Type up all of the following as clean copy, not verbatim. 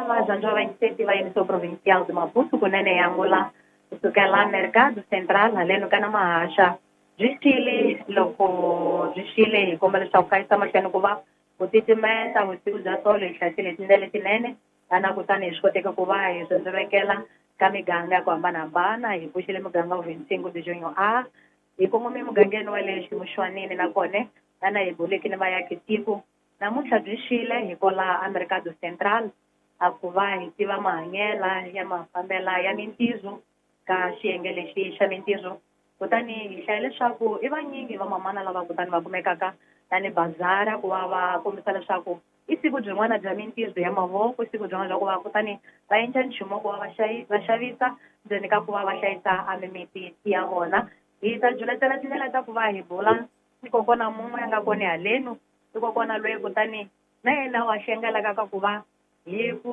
Vazanjwa va va Emissão Provincial de Maputo kunene ya Angola kusukela Mercado Central haleno ka na Mahasha byi xile loko byi xile hi komba leswaku ka yisa mahlweni ku va ku titimeta vusiku bya tolo hi hlayisile hi tindlela letinene ana kutani hi swi koteka ku va hi swindzivekela ka miganga ya ku hambanahambana hi pfuxile muganga wa 25 de junho a hi kongome mugangeni wa le ximuxwanini nakona ana hi buleke ni vayaki tiko namuntlha byi xile hi kola a Mercado Central a ku va hi tiva mahanyela ya mafambela ya mintirho ka xiyenge lexi xa mintirho kutani hi hlaya leswaku i vanyingi vamamana lava kutani va kumekaka tani bazara ku va va kombisa leswaku i siku byin'wana bya mintirho ya mavoko i siku byin'wana bya ku va kutani va endla nchumu ku va va xavisa ndzeni ka ku va va hlayisa a mimiti ya vona hi ta juletela tindlela ta ku va hi bula ni kokwana mun'we a nga kona halenu i kokwana loyi kutani na yena wa xengelaka ka ku va hi ku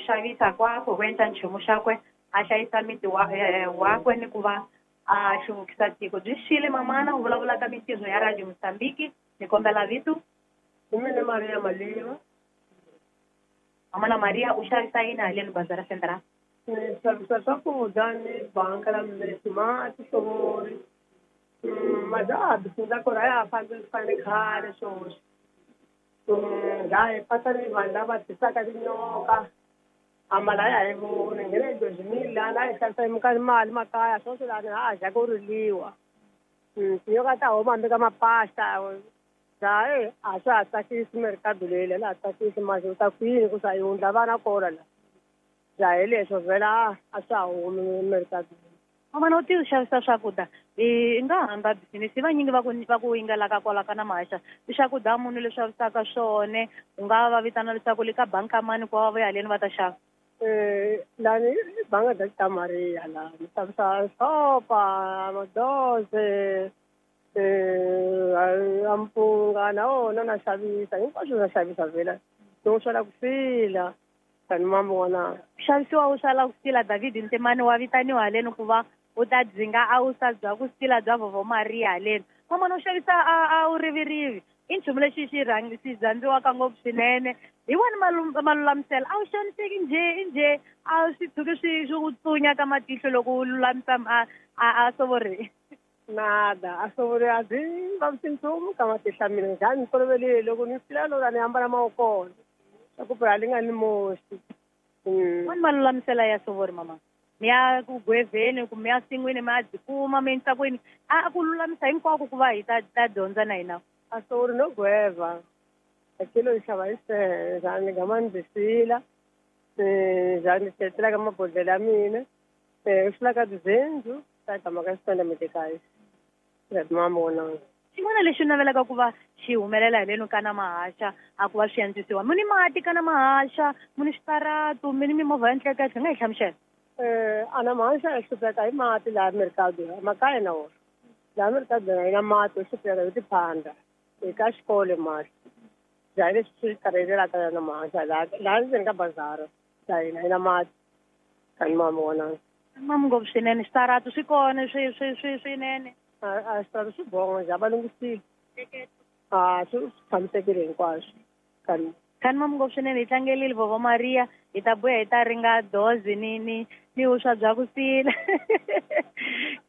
xavisa kwakwe ku endla nchumu xakwe a hlayisa miti wa wakwe ni ku va a hluvukisa tiko byi xile mamana u vulavula ka mintirho ya Radio Mozambique ni kombela vito. Hi mina Maria Maliva. Mamana Maria u xavisa yini haleni Bazara Central? Ni xavisa swakudya ni banka la mati mati sovori majaha bindzu kona a ya ha fambi fane khale swoswi laha hi pasa ni vanhu lava tisaka tinyoka amala a ya hi voni nghena hi dozimile lana a hi hlayisa hi mali makaya swoswi lani ha dya ku riliwa tinyoka ta huma hambi ka mapasta laha a swa ha tsakisi merikado leyi la ha tsakisi masi u ta kwini ku sa yi wundla vana kona la ja hi leswo vhela a swa ha humi merikado. Mamana u ti xavisa swakudya i nga hamba bisinisi vanyingi va ku va ku yingelaka kwala ka na Mahasha i swakudya munhu leswi xavisaka swone u nga va vitana leswaku le ka banka mani ku va va ya haleni va ta xava. Lani banga da ta Maria la ni xavisa sopa madoze ampunga na wona na xavisa hinkwaswo na xavisa vhela no swala ku sila tani mambo n'wana xavisiwa u swala ku sila David Ntemani wa vitaniwa haleni ku va u ta dzinga a wu sa bya ku sila bya Vovo Maria haleni mamana u xavisa a wu rivirivi i nchumu lexi xi xi rhandziwaka ngopfu swinene hi wani malulamiselo a wu xaniseki njhe i njhe a swi tshuki swi swi ku tsunya ka matihlo loko u lulamisa a sovori. Nada a sovori a byi vavisi nchumu ka matihlo ya mina njhani ni toloverile loko ni sila lora ni ambala mawokona swa ku phela li nga ni moxi. Wani malulamisela ya sovori mama mi ya ku gwevheni kumbe ya sin'wini mi ya byi kuma mi endlisa ku yini a ku lulamisa hinkwako ku va hi ta dyondza na hina. A sovori no gweva a kilo yi xava hi sehe njhani ni gama ni byi sila njhani ni cheletela ka mabodhlele ya mina u swi ka tizindlu ta gama ka xitanda medekaya mamona. Xin'wana lexi u navelaka ku va xi humelela haleni ka na Mahasha a ku va swi antswisiwa mu ni mati ka na Mahasha mu ni switaratu mi ni mimovha ya ntleketlo nga hi hlamusela. Ana Mahasha hi hlupheka hi mati laha merikado makaya na wona laha merikado na hina mati hi hlupheka hi tiphanda hi ka xikolo mati ja hi leswi swi karhelelaka na Mahasha laha ndzeni ka bazara ja hina hina mati tani mamona. Mamu ngopfu swinene switaratu swi kona swi swi swi swinene. A switaratu swi bonga ja va lunghisile a swi tshamisekile hinkwaswo kani. Kani mamu ngopfu swinene hi tlangelile Vovo Maria hi ta buya hi ta ringa dozi ni ni ni vuswa bya ku sila.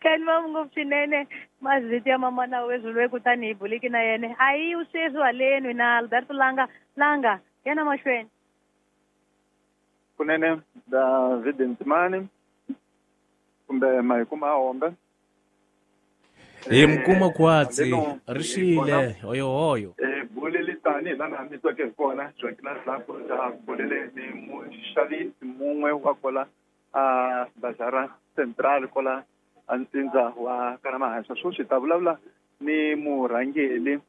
Kani mamu ngopfu swinene mazito ya mamana wezwi loyi kutani hi buliki na yena a yi sweswi haleni na Alberto Langa Langa yena mahlweni. Kunene David Ntimani kumbe mahikuma hombe hi mukuma kwatsi ri xile hoyohoyo bulele tani hi lana mi tweke hi kona Joaquina Dlapo ta bulele ni muxavisi mun'we wa kola a Bazara Central kola a ntsindza wa ka na Mahasha sweswi hi ta vulavula ni murhangeli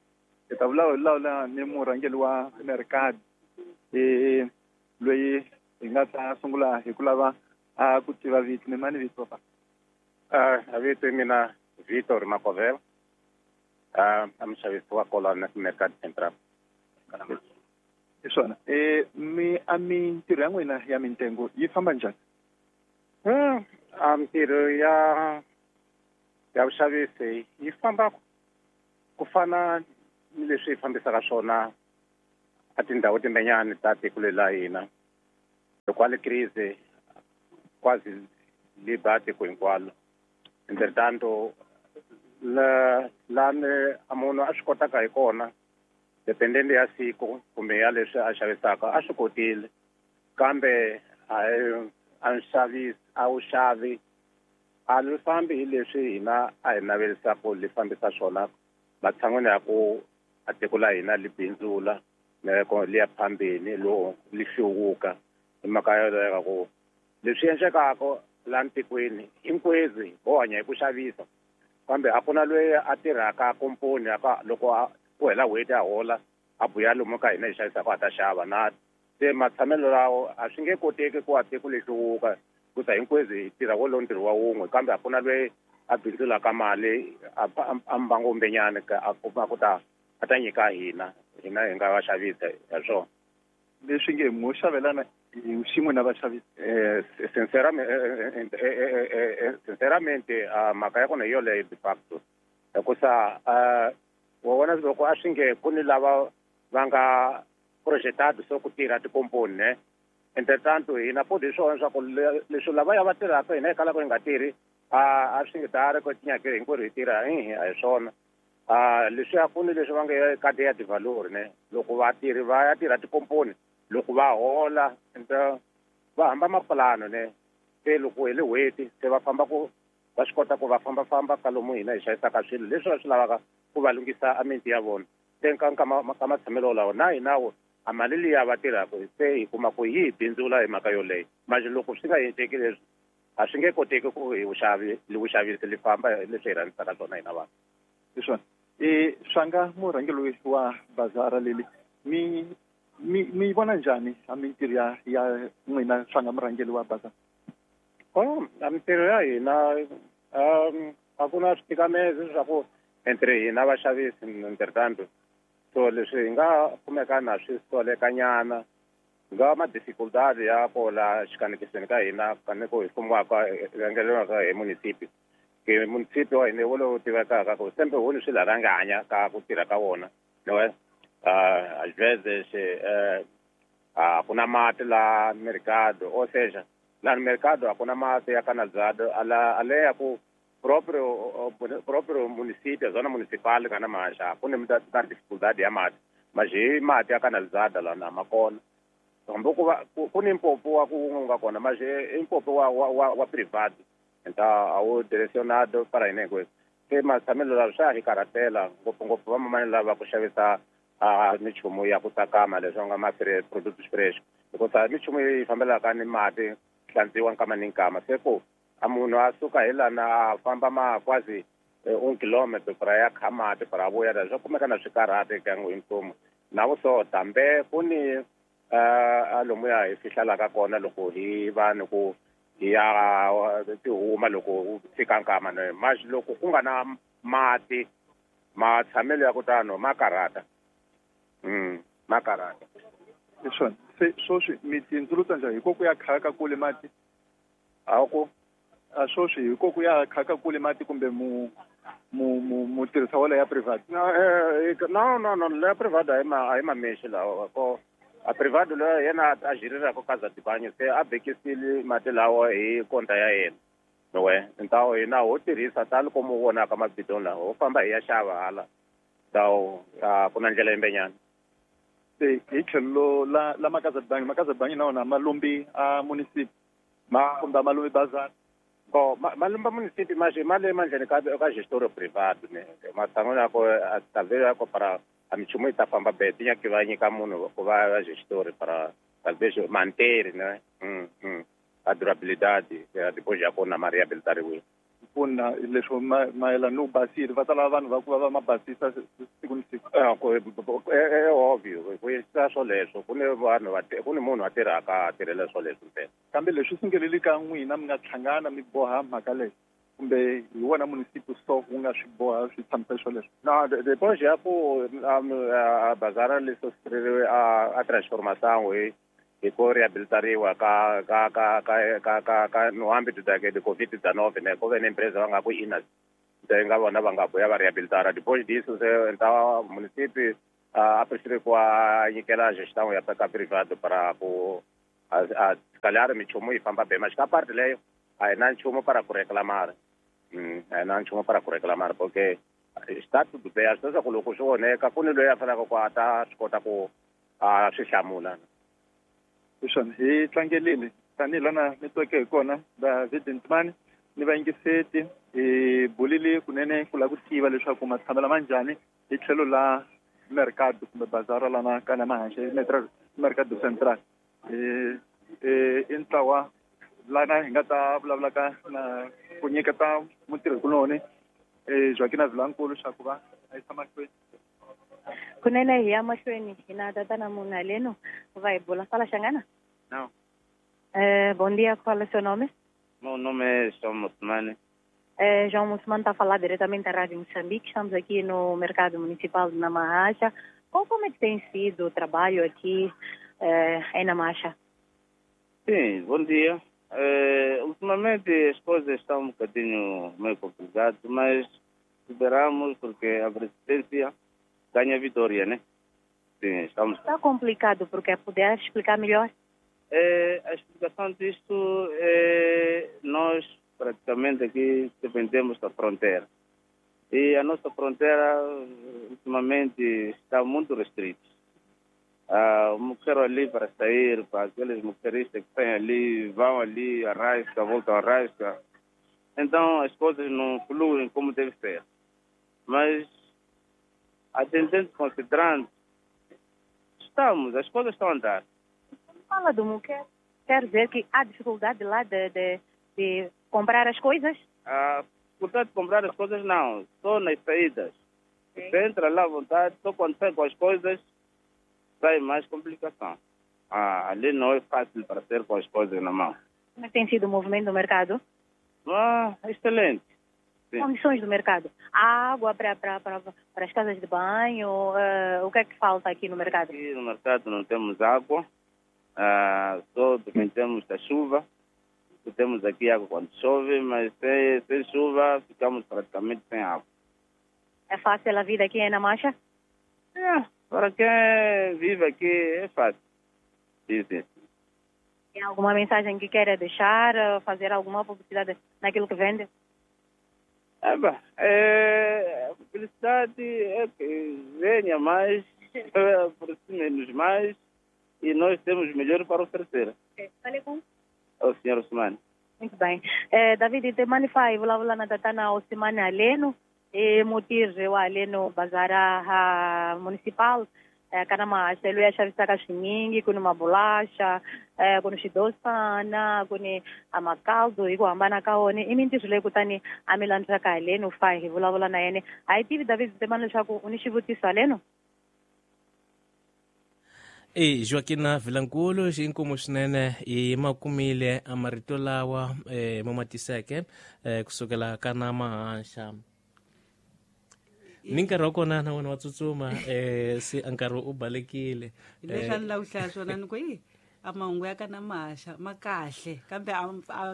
hi ta vulavula ni murhangeli wa Mercado loyi hi nga ta sungula hi ku lava a ku tiva vito ni mani vito pa. A vito mina Vitor Makovela a muxavisi wa kola na Mercado Central. Hi swona mi a mintirho ya n'wina ya mintengo yi famba njhani? A mintirho ya vuxavisi yi famba ku fana ni leswi hi fambisaka swona a tindhawu timbenyani ta tiko leri la hina. Kwale crise quase libate ku hinkwalo. Entretanto la ne a munhu a swi kotaka hi kona dependente ya siku kumbe ya leswi a xavisaka a swi kotile, kambe a nxavisi a wu xavi a li fambi hi leswi hina a hi navelisaka li fambisa swona matshan'wini ya ku a tiko la hina li bindzula li ya phambeni lo li hluvuka. Hi mhaka yoleyo ku leswi endlekaka la ntikweni hinkwezi ho hanya hi ku xavisa, kambe a ku na loyi a tirhaka komponi aka loko ku hela n'hweti a hola a buya lomu ka hina hi xavisaka a ta xava na se matshamelo lawo a swi nge koteki ku a tiko li hluvuka hikusa hinkwezi hi tirha wolowo ntirho wa wun'we, kambe a ku na loyi a bindzulaka mali a mbangombenyana a kuma ku ta a ta nyika hina hina hi nga vaxavisa hi swona. Leswi nge mo xavelana hi xin'we na vaxavisi. Sinceramente mhaka ya kona hi yoleyo de facto, hikusa wa vona loko a swi nge ku ni lava va nga projetado so ku tirha tikomponi ne, entretanto hina futhi hi swona swa ku leswi lavaya va tirhaka hina hi kalaka hi nga tirhi a swi nge dari ku tinyake hinkwerhu hi tirha hi a hi swona. Leswi a ku ni leswi va nge cadeia de valor ne, loko vatirhi va ya tirha tikomponi loko va hola va hamba mapulano ne, se loko hi le n'hweti se va famba ku va swi kota ku va fambafamba ka lomu hina hi xavisaka swilo leswi va swi lavaka ku va lunghisa a miti ya vona. Se ka matshamelo lawa na hina wo a mali liya va tirhaka se hi kuma ku yi hi bindzula hi mhaka yoleyo. Manje loko swi nga endleki leswi a swi nge koteki ku hi vuxavisi li famba leswi hi rhandzisaka swona hina vanhu. Hi swona. Swanga murhangeri wa bazara leli mi vona njhani a mintirho ya n'wina swanga murhangeri wa bazara? A mintirho ya hina a ku na switikamezi swa ku entre hina vaxavisi entretanto so leswi hi nga kumeka na swi solekanyana nga ma dificultad ya kola xikanekisweni ka hina kaneko hi fumiwaka rhangeleriwaka hi munisipi. Ke munisipi wa hina wolowo tivekaka ku sembe huni swi laranganya ka ku tirha ka wona no às vezes a ku na mati la mercado, ou seja la no mercado a ku na mati ya canalizado ala ya ku próprio município, a zona municipal ka na maxa ku ni na dificuldade ya mati, mas hi mati ya canalizada la na ma kona hambi ku va ku ni mpopo wa ku nga kona, mas i mpopo wa privado então a wu direcionado para hina hinkwenu. Se matshamelo lawa swa hi karhatela ngopfungopfu vamamani lava ku xavisa minchumu ya ku tsakama leswi nga ma product fresh, hikusa minchumu yi fambelaka ni mati hlantswiwa nkama ni nkama, se ku a munhu a suka hi lana a famba ma quasi 1 kilometro para ya kha mati para vuya swa kumeka na swikarhati ka hinkwenu na vuso tambe ku ni a lomuya hi fihlalaka kona loko hi va ni ku hi ya tihuma loko fika nkama ne, mas loko ku nga na mati matshamelo ya ku tano ma karhata. Ma karhata. Hi swona. Se swoswi mi tindzuluta njhani hi ku ya khaka kule mati? A ku a swoswi hi ku ya khaka kule mati kumbe mu tirhisa wala ya private? No la private a hi mamexi lawa ko a private loyi yena a jiriraka ka za tibanyo se a bekisile mati lawa hi konta ya yena nowe ntawo hina ho tirhisa tani komu vonaka mabidoni lawa ho famba hi ya xava hala tawo ku na ndlela yimbenyana. Se hi tlhelo la makaza bangi na wona ma lombi a munisipi kumbe ma lombi bazar? Bo ma lomba munisipi mas ma le mandleni ka gestor privado ne matshan'wini ya ku talvez ya ku para a minchumu yi ta famba be ti nyaki va nyika munhu ku va gestor para talvez manter ne a durabilidade depois ya kona ma rehabilitariwile. Pfuna leswo mayelana no basile va ta lava vanhu va ku va ma basisa siku ni siku. Ovvio ku endlisa swoleswo ku ni vanhu ku ni munhu a tirhaka a tirhela swoleswo ntsena. Kambe leswi sungeleli ka n'wina mi nga hlangana mi boha mhaka leyi kumbe hi wona munisipi so wu nga swi boha swi tshamisa swoleswo? No, depois ya ku a bazara leswo sireriwe a transformação hi ku rehabilitariwa ka ka ka ka ka ka ka no âmbito da de Covid-19 ne ku ve ni empresa va nga ku ina se nga vona va nga vuya va rehabilitara. Depois disso se então município a prefere ku a nyikela gestão ya ka privado para ku A calhar minchumu yi famba bem, mas ka parte leyo a hi na nchumu para ku reclamar. A hi na nchumu para ku reclamar porque está tudo bem. A swi leswaku loko swi onheka ku ni loyi a faneleke ku a ta swi kota ku a swi hlamula. Hi swona hi tlangelile tanihi lana mi tweke hi kona David Ntimani ni vayingiseti hi bulile kunene ku lava ku tiva leswaku matshamelo ma njhani hi tlhelo la mercado kumbe bazara lana ka Namahaxe Mercado Central. I ntlawa lana hi nga ta vulavulaka na ku nyiketa mutirhikuloni Joaquina Vilankulu xa ku va a yisa mahlweni. Kunene hi ya mahlweni hi na tatana munhu haleno va hi bula fala Xangana. Não. Bom dia, qual é o seu nome? Meu nome é João Mussumane. João Mussumane está a falar diretamente da Rádio Moçambique. Estamos aqui no Mercado Municipal de Namaacha. Como é que tem sido o trabalho aqui em Namaacha? Sim, bom dia. Ultimamente as coisas estão um bocadinho meio complicadas, mas superamos porque a presidência ganha vitória, né? Sim, estamos... Está complicado porque puder explicar melhor? A explicação disto é nós praticamente aqui dependemos da fronteira. E a nossa fronteira ultimamente está muito restrita. O moqueiro ali para sair, para aqueles moqueiristas que têm ali, vão ali, arrasca, voltam, arrasca. Então as coisas não fluem como deve ser. Mas, atendendo, considerando, as coisas estão a andar. Fala do moqueiro, quer dizer que há dificuldade lá de comprar as coisas? A dificuldade de comprar as coisas não, só nas saídas. Sim. Você entra lá à vontade, só quando sai com as coisas, sai mais complicação. Ali não é fácil para ser com as coisas na mão. Como é que tem sido o movimento do mercado? Excelente. Sim. Condições do mercado? Há água para as casas de banho? O que é que falta aqui no mercado? Aqui no mercado não temos água. Só dependemos da chuva. Temos aqui água quando chove, mas sem chuva ficamos praticamente sem água. É fácil a vida aqui em Namaacha? Para quem vive aqui é fácil. Sim, sim. Tem alguma mensagem que queira deixar, fazer alguma publicidade naquilo que vende? A publicidade é que venha mais, aproxime-nos mais e nós temos melhor para oferecer. Falei com o senhor Ousmane. Muito bem. David, te manifai vulavula na tatana Ousmane aleno e mutirhi wa haleno bazara municipal kana mahaselo ya xavisaka swinyingi, ku ni mabulaxa, ku ni swidosana, ku ni makaldo hi ku hambana ka wona. I mintirho leyi kutani a mi landzaka haleno fa hi vulavula na yena. A hi tivi David Temani leswaku u ni xivutiso haleno? Joaquina Vilankulu xinkumu swinene hi makumile a marito lawa mo matiseke kusukela ka Namaacha. Ni nkarhi wa kona na wona wa tsutsuma se nkarhi u balekile. Leswi a ni lava ku hlaya swona ni ku a mahungu ya ka Namaacha ma kahle kambe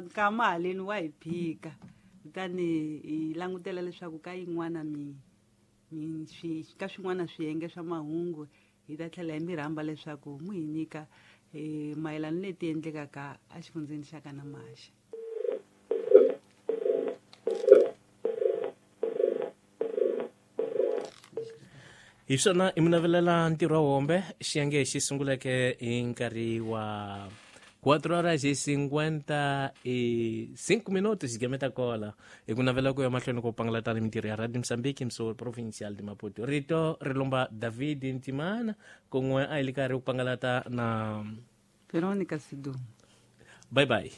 nkama haleni wa hi phika, kutani hi langutela leswaku ka yin'wana ka swin'wana swiyenge swa mahungu hi ta tlhela hi mi rhamba leswaku mu hi nyika mayelana leti endlekaka exifundzeni xa ka Namaacha. Hi swona i mi navelela ntirho wa hombe xiyenge xi sunguleke hi nkarhi wa 4:55 minutos xigameta kola hi ku navela ku ya mahlweni ko pangalatana mintirho ya Radio Mozambique mso provincial de Maputo. Rito ri lomba David Ntimana kun'we a hi le karhi ku pangalata na Veronica Sidumo. Bye bye.